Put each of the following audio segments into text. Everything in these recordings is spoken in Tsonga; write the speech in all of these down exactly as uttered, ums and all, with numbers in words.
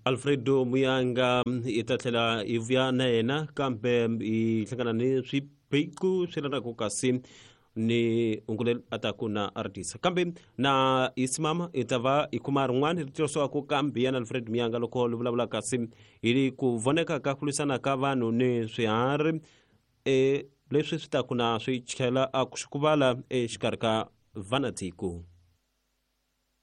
Alfredo Muyanga i ta tlhela i vuya na yena kambe i hlangana ni swiphiqo swi lanaka kasi ni ungule a ta ku na artist kambe na isimama i ta va i kuma rin'wana ri tirhisiwaka kambe yana Alfred Muyanga loko li vulavula kasi hi ku voneka ka ku lwisana ka vanhu ni swiharhi e leswi swi ta ku na swi tlhela a ku xikuvala exikarhi ka vanatiko.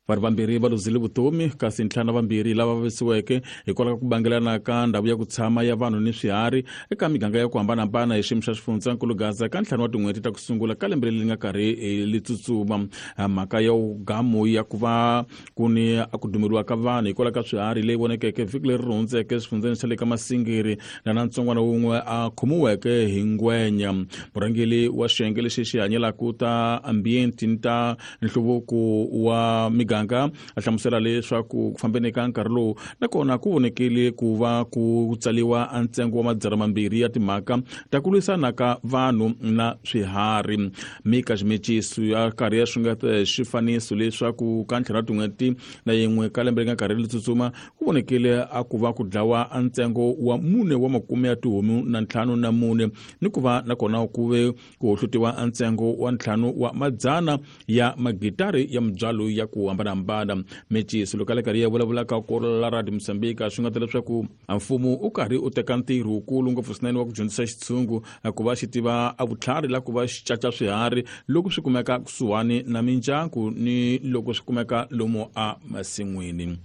Vanhu vambirhi va luzile vutomi kasi ntlhanu vambirhi lava vavisiweke hikwalaho ka ku bangelana ka ndhawu ya ku tshama ya vanhu ni swiharhi eka miganga ya ku hambanahambana hi xiyimo xa xifundzankulu Gaza ka ntlhanu wa tin'hweti ta ku sungula ka lembe leri nga karhi li tsutsuma. Mhaka ya gamu ya ku va ku ni a ku dumeriwa ka vanhu hikwalaho ka swiharhi leyi vonekeke vhiki leri hundzeke swifundzeni xa le ka Masingiri na na ntsongwana wun'we a khomiweke hi ngwenya. Murhangeri wa xiyenge lexi xi hanyelaka ta ambiente ni ta nhluvuko wa miganga a hlamusela leswaku ku fambeni ka nkarhi lowu nakona ku vonekile ku va ku tsaliwa ntsengo wa madzana mambirhi ya timhaka ta ku lwisana ka vanhu na swiharhi. Mika Ximeciso ya karhi ya xungeta xifaniso leswaku ka ntlhanu wa tin'hweti na yin'we ka lembe leri nga karhi ri tsutsuma ku vonekile a ku va ku dlawa ntsengo wa mune wa makume ya tihomu na ntlhanu na mune ni ku va nakona ku ve ku hohlutiwa ntsengo wa ntlhanu wa madzana ya magitari ya mibyalo ya ku hambanahambana. Meciso loko a le karhi ya vulavulaka ku la Radio Mozambique swi nga ta leswaku mfumo u karhi u teka ntirho wukulu ngopfu swinene wa ku dyondzisa xitshungu ku va xi tiva a vutlhari la ku va xi caca swiharhi loko swi kumeka kusuhani na mindyangu ni loko swi kumeka lomu a masin'wini.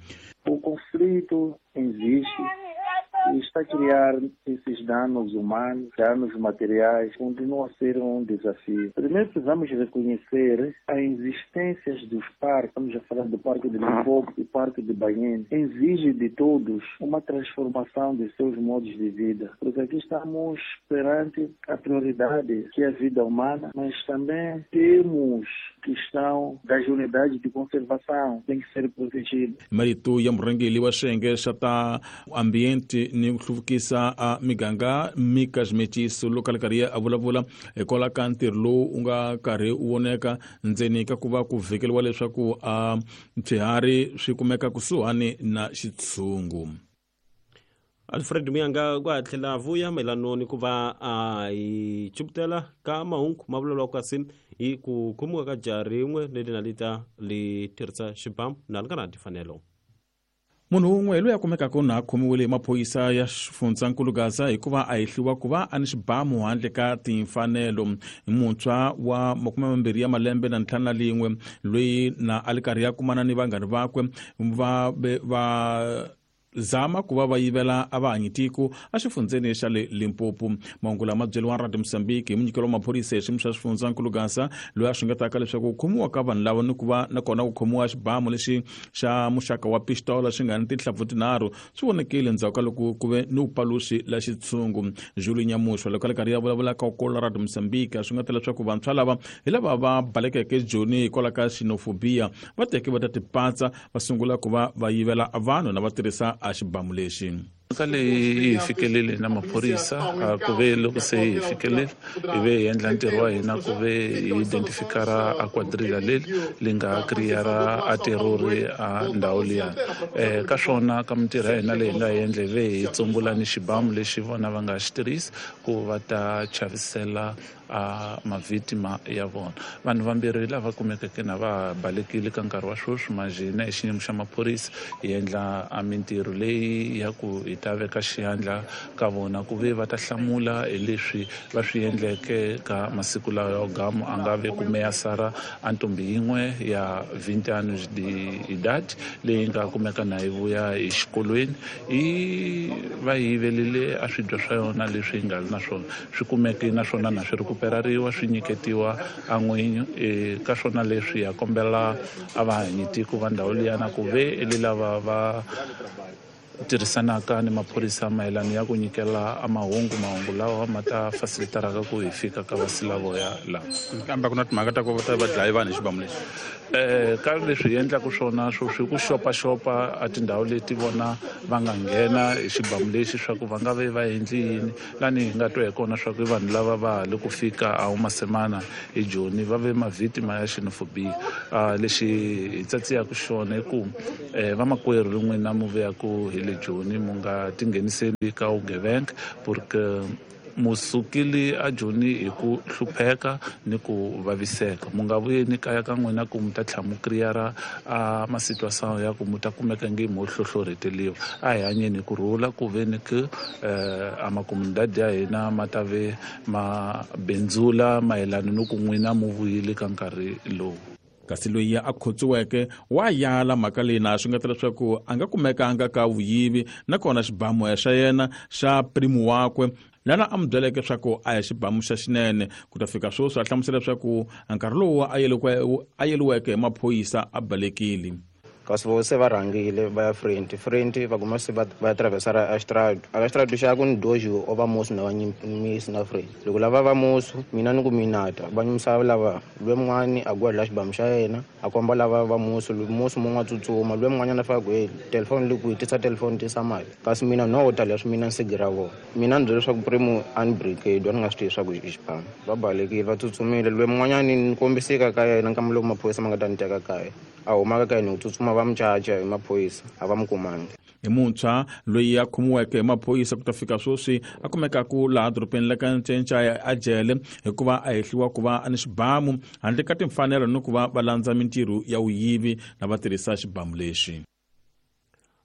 O conflito existe e está a criar esses danos humanos, danos materiais, continua a ser um desafio. Primeiro precisamos reconhecer a existência dos parques, estamos a falar do Parque de Limpopo e Parque de Banhene, exige de todos uma transformação de seus modos de vida, porque aqui estamos perante a prioridade que é a vida humana, mas também temos questão das unidades de conservação, tem que ser protegida. Marito ya murhangeri wa xiyenge xa ta ambiente ni ku hluvukisa a miganga Mika Ximeciso loko a le karhi a vulavula hikwalaho ka ntirho lowu u nga karhi u voneka ndzeni ka ku va ku vhikeliwa leswaku a swiharhi swi kumeka kusuhani na xitshungu. Alfred Muyanga ku tlhela a vuya mayelana ni ku va a hi chuputela ka mahungu ma vulavulaka kasi hi ku khomiwa ka jaha rin'we leri na li ta li tirhisa xibamu na li nga na timfanelo. Munhu wun'we loyi a kumekaka na a khomiwile hi maphorisa ya xifundzankulu Gaza hikuva a hehliwa ku va a ni xibamu handle ka timfanelo. Muntshwa wa makume mambirhi ya malembe na ntlhanu na lin'we loyi na a li karhi ya kumana ni vanghani vakwe va va zama ku va va yivela a va hanyi tiko exifundzeni xa le Limpopo. Mahungu lama byeriwa Radio Mozambique hi munyikelo wa maphorisa hi xiyimo xa xifundzankulu Gaza loyi a xungetaka leswaku ku khomiwa ka vanhu lava ni ku va nakona ku khomiwa xibamu lexi xa muxaka wa pistola xi nga ni tinhlampfu tinharhu swi vonekile endzhaku ka loko ku ve ni vupaluxi la xitshungu. Julie Nyamushwa loko a le karhi ya vulavula ka kola Radio Mozambique swi nga ta leswaku vantshwa lava hi lava va balekeke Joni hikwalaho ka xenophobia va teke va ta tipatsa va sungula ku va va yivela vanhu na va tirhisa a xibamu lexi. Mhaka leyi yi fikelele na maphorisa ku ve loko se hi fikelele hi ve hi endla ntirho wa hina ku ve hi identifikara a quadrilla leri li nga creara a terrori a ndhawu liya. Um ka swona ka mintirho ya hina leyi hi nga yi endla hi ve hi tsumbula ni xibamu lexi vona va nga xi tirhisi ku va ta chavisela a mavhitima ya vona. Vanhu vambirhi lava kumekeke na va balekile ka nkarhi wa sweswi manjhe hina hi xiyimo xa maphorisa hi endla a mintirho leyi ya ku hi ta veka xiyandla ka vona ku ve va ta hlamula hi leswi va swi endleke ka masiku lawa ya gamu a nga ve ku meyasara a ntombi yin'we ya vinte anos de idade leyi nga kumeka na yi vuya hi xikolweni yi va yivelile a swidya swa yona leswi yi nga ri na swona swi kumeke naswona na swi rekuperariwa swi nyiketiwa a n'winyi. Ka swona leswi ya kombela a va hanyi tiko va ndhawu liyana ku ve le lava va tirhisanaka ni maphorisa mayelana ya ku nyikela a mahungu mahungu lawa ma ta facilitaraka ku hi fika ka vasilavoya lava. Kambe ku na timhaka ta ku va ta va dlayi vanhu hi xibamu lexi. Eh ka leswi hi endlaka swona sweswi ku xopaxopa a tindhawu leti vona va nga nghena hi xibamu lexi swa ku va nga ve va endli yini lani hi nga twa hi kona swa ku i vanhu lava va ha le ku fika a Umasemana hi Joni va ve mavhitima ya xenophobia. Lexi hi tsatsiyaka xona i ku vamakwerhu rin'wina mu vuyaku hi le Joni mu nga tingheniseli ka vugevenga porque musukile a Joni hi ku hlupheka ni ku vaviseka mu nga vuyeni kaya ka n'wina ku mi ta tlhela mu kriyara a masituação ya ku mu ta kumeka nge mo hlohlorheteliwa. A hi hanyeni hi ku rhula ku ve ni ku a makomunidadi ya hina ma ta ve ma bindzula mayelana ni ku n'wina mu vuyile ka nkarhi lowu. Kasi loyi a khotsiweke wa yala mhaka leyi na swi nga ta leswaku a nga kumekanga ka vuyivi nakona xibamu xa yena xa primu wakwe lana a n'wi byeleke leswaku a ya xibamu xa xinene. Ku ta fika sweswi a hlamusela leswaku nkarhi lowu a yeliweke hi maphorisa a balekile. Kasi vo se va rhangile va ya front front va kuma se va va atravessar a estrada a estrada xa ku ni dojo o va musu na va nyimisi na front loko lava va musu mina ni ku minata va nyimisa lava lwe mun'wani a gwa la xibamu xa yena a komba lava va musu musu mun'wa tsutsuma lwe mun'wanyana fa ku hey telefoni le ku tisa telefoni tisa mali kasi mina no ta leswi mina nsigira vona mina ni byela leswaku primo unbrigade wa ni nga swi tivi swa ku xibamu va balekile va tsutsumile lwe mun'wanyani ni kombiseka ka yena nkama loko maphorisa ma nga ta ni teka kaya a humaka ka yena ku tsutsuma va mucaca hi maphorisa a va mu kumangi. Hi muntshwa loyi a khomiweke hi maphorisa ku ta fika sweswi a kumekaku laha dorobeni la ka Ncencaya a jele hikuva a hehliwa ku va a ni xibamu handle ka timfanelo ni ku va va landza mintirho ya vuyivi na va tirhisa xibamu lexi.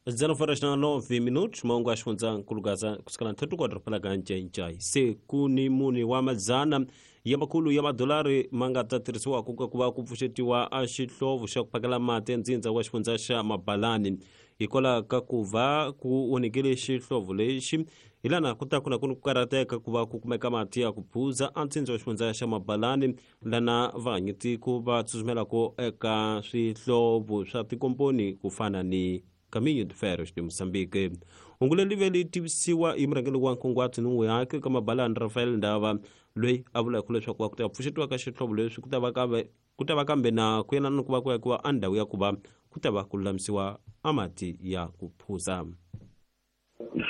dezenove horas na nove minutos mahungu ya xifundzankulu Gaza kusukela ntlhanu kwa doroba la ka Ncencai se ku ni mune wa madzana ya makhulu ya madolari ma nga ta tirhisiwa ku ku va ku pfuxetiwa a xihlovo xa ku phakela mati ndzindza wa xifundza xa Mabalani hikwalaho ka ku va ku onhekile xihlovo lexi hi lana ku ta ku na ku karhateka ku va ku kumeka mati ya ku phuza a ntsindza wa xifundza xa Mabalani lana vahanyitiko va tsutsumelaka eka swihlovo swa tikomponi ku fana ni Caminho de Ferros de Moçambique. Hungu leri ve li tivisiwa hi murhangeri wa nkunguhato ni yake ka Mabalani Rafael Ndava loyi a vulaka leswaku ku ta pfuxetiwa ka xihlovo leswi ku ta va kambe ku ta va kambe na ku yelana ni ku va ku akiwa a ndhawu ya ku va ku ta va ku lulamisiwa a mati ya ku phuza.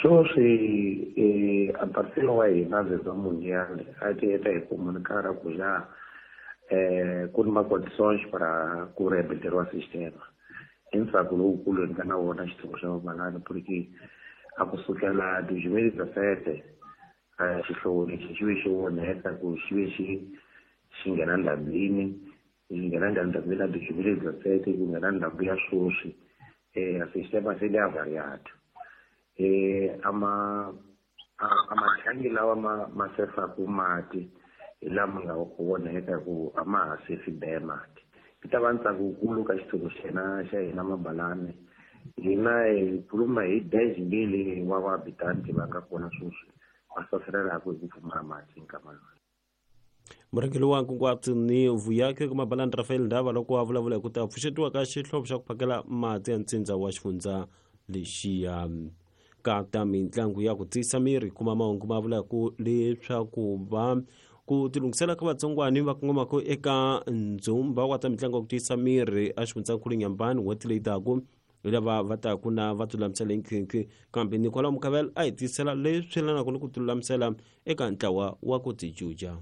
Sweswi eh, a parceiro wa hina Zezé Mundial a ti heta hi comunicar ku já eh, ku ni ma-condições para ku reabiliteriwa sistema. I ntsako lowukulu ni nga na wona xihlovo xa Mabalani porque a kusukela dois mil e dezessete xihlovo lexi xi ve xi onheka ku xi ve xi xi nghena ndhambini xi nghena ndhambini ya dois mil e dezessete ku nghena ndhambi ya sweswi um sistema se li avariado um ama a mathangi lawa ma ma sefaku mati hi lama nga onheka ku a ma ha sefi be mati. Yi ta va ntsako wukulu ka xihlovo xa hina xa hina Mabalani hina hi khuluma hi dez mil wa vahabitanti va nga kona sweswi va saselelaka hi ku pfumala mati nkama lowu. Murhangeri wa nkunguhato ni vuyaki ka Mabalani Rafael Ndava loko a vulavula hi ku ta pfuxetiwa ka xihlovo xa ku phakela mati ya ntsindza wa xifundza lexiya. Ka ta mitlangu ya ku tiyisa miri kuma mahungu ma vulaka leswaku va ku tilunghisela ka vatsongwani va kongomaka eka ndzumba wa ta mitlangu ya ku tiyisa miri a xifundzankulu Nyambani n'hweti leyi taka lava va taku na va tilulamisela hinkhinkhi kambe Nicola Mukavela a hi tiyisela leswi yelanaka ni ku tilulamisela eka ntlawa wa ku tijuja.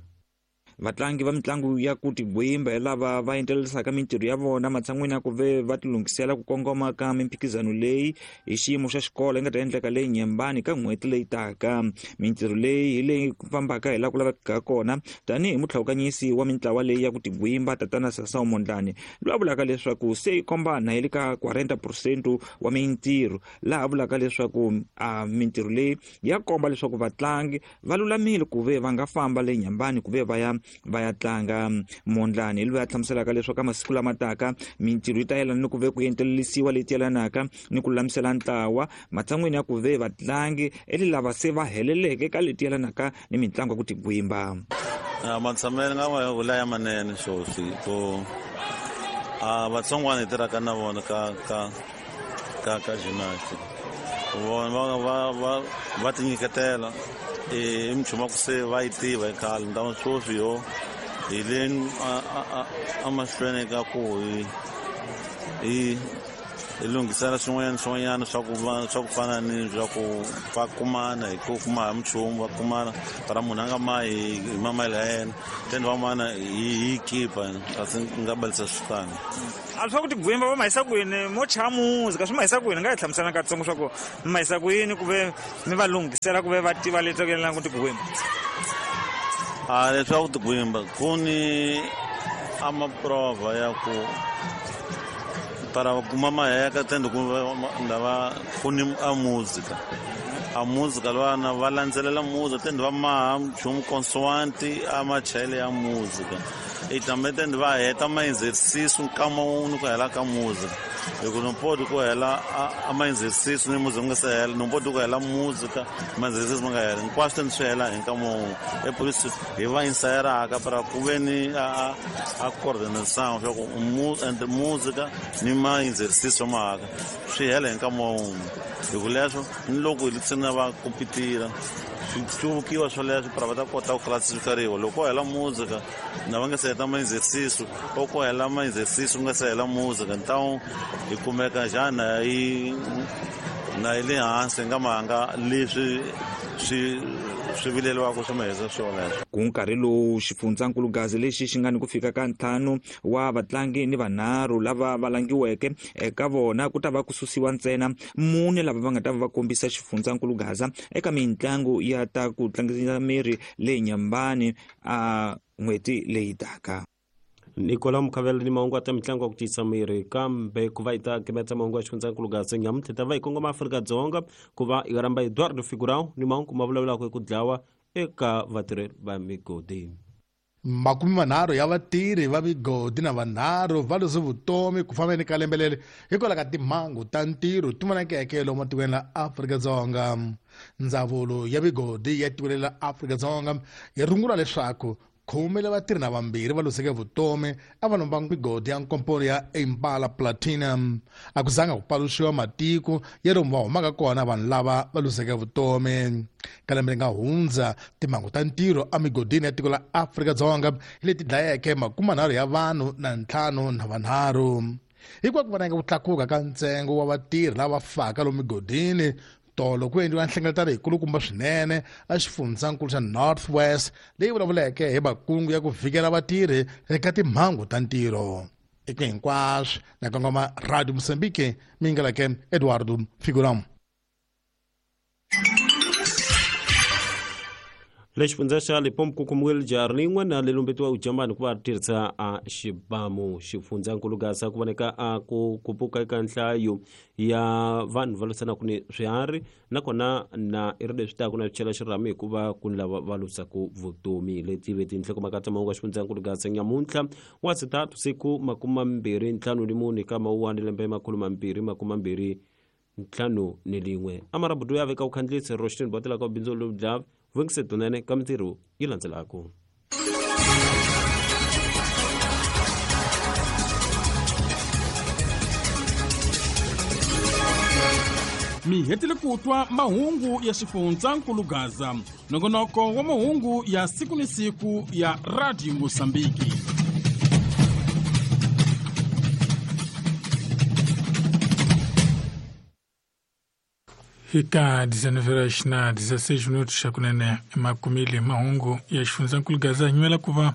Vatlangi va mitlangu ya ku tigwimba hi lava va endlelisaka mintirho ya vona matshan'wini ya ku ve va tilunghisela ku kongoma ka mimphikizano leyi hi xiyimo xa xikolo yi nga ta endleka leyi Nyembani ka n'hweti leyi taka. Mintirho leyi hi leyi fambaka hi laha ku lavekaka kona tanihi mutlhawukanyisi wa mintlawa leyi ya ku tigwimba tatana Sasao Mondlane loyi a vulaka leswaku se yi kombana hi le ka quarenta percent wa mintirho laha a vulaka leswaku a mintirho leyi ya komba leswaku vatlangi va lulamile ku ve va nga famba le Nyembani ku ve va ya va ya tlanga. Mondlane loyi a hlamuselaka leswaku masiku lama taka mintirho yi ta yelana ni ku ve ku entelelisiwa leti yelanaka ni ku lulamisela ntlawa matshan'wini ya ku ve vatlangi eli lava se va heleleke ka leti yelanaka ni mitlangu ya ku tigwimba. Matshamelo nga ma vula ya manene sweswi ku a vatsongwana hi tirhaka na vona ka ka ka ka gymnastic vona va va va va tinyiketela i minchumu ya ku se va yi tiva hi khale ni ta sweswi yo Hi le emahlweni ka ku hi hi hi lunghisela swin'wanyana swin'wanyana swa ku va swa ku fana ni swa ku va kumana hi ku kuma hi minchumu va kumana para munhu a nga mahi hi mamayele ya yena then va mana hi hi kipa kasi nga balisa switani a swa ku tigwimba va mahisa kwini mo chaya muzika swi mahisa kwini nga hi hlamusela katsongo swa ku mi mahisa kwini ku ve mi va lunghisela ku ve va tiva leswaku yelana ku tigwimba a leswaku tigwimba ku ni a maprova ya ku para kuma maheka tende ku lava ku ni a música a música lwana va landzelela música tende va maha nchumu consoante a machayele ya música e também tende va heta ma exercício nkama wun'we ku hela ka música hi ku no pode ku hela a ma exercício ni música nga se hela no pode ku hela música ma exercício ma nga hela hinkwaswo tende swi hela hi nkama wun'we e por isso hi va ensayeraka para ku ve ni a a coordenação swa ku entre música ni ma exercício mahaka swi hela hi nkama wun'we hi ku leswo ni loko hi tsina va kompitira swi hluvukiwa swoleswo para va ta kota ku classifikariwa loko ko hela música na va nga se heta ma exercício ou ko hela ma exercício nga se hela música então hi kumeka njhani yi na yi le hansi nga mahanga leswi swi swi vileliwaka swi mahisa swoleswo ku nkarhi lowu xifundzankulu Gaza lexi xi nga ni ku fika ka ntlhanu wa vatlangi ni vanharhu lava va langiweke eka vona ku ta va ku susiwa ntsena mune lava va nga ta va va kombisa xifundzankulu Gaza eka mitlangu ya ta ku tlangisa miri leyi Nyambani a n'hweti leyi taka. Nicola Mukhavela ni mahungu ta mitlangu ya ku tiyisa miri kambe ku va yi ta kimetsa mahungu ya xifundzankulu Gaza nyamuntlha ta va yi kongoma Afrika-Dzonga ku va yi rhamba Eduardo Figurão ni mahungu ma vulavulaka hi ku dlawa eka vatirheli va migodi. Makume manharhu ya vatirhi va migodi na vanharhu va lose vutomi ku fambeni ka lembe leri hikwalaho ka timhangu ta ntirho ti vonakeke lomu matikweni la Afrika-Dzonga. Ndzawulo ya migodi ya tiko la Afrika-Dzonga yi rungula leswaku khume la vatirhi na vambirhi va loseke vutomi a va lomba migodi ya nkomponi ya Impala Platinum. A ku zanga ku paluxiwa matiko ya lomu va humaka kona vanhu lava va loseke vutomi. Ka lembe leri nga hundza timhangu ta ntirho emigodini ya tiko la Afrika-Dzonga hi leti dlayeke makumanharhu ya vanhu na ntlhanu na vanharhu. Hikwalaho ku vonaka ku tlakuka ka ntsengo wa vatirhi lava faka lomu migodini, tolo ku endliwa nhlengeletano yikulukumba swinene a xifundzankulu xa North West leyi vulavuleke hi makungu ya ku vhikela vatirhi eka timhangu ta ntirho. Eka hinkwaswo na kongoma Radio Mozambique mi ngeleke Eduardo Figurão. Le xifundza xa Limpopo ku kumiwile jaha rin'we na leri lumbetiwa ujambani ku va ri tirhisa a xibamu. Xifundzankulu Gaza ku voneka a ku kupuka eka nhlayo ya vanhu va lwisanaka ni swiharhi nakona na i ri leswi taka na swi chela xirhami hikuva ku ni lava va lwisaka vutomi. Leti ve tinhlokomhaka ta mahungu ya xifundzankulu Gaza nyamuntlha wa sitatu siku makume mambirhi ntlhanu ni mune ka mawuwani lembe makhulu mambirhi makume mambirhi ntlhanu ni lin'we. Amarabudu ya veka ukhandlisi Roshtin Botela ka bindzu lowu dlava vungise tunene ka mintirho yi landzelaka. Mi hetile ku twa mahungu ya xifundzankulu Gaza, nongonoko wa mahungu ya siku ni siku ya Radio Mozambique. Ika dezenove horas na dezesseis minutos akunene makumile mahungu ya xifundzankulu Gaza nywela kuva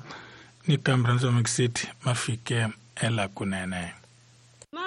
ni kambranzo mixit mafike ela kunene.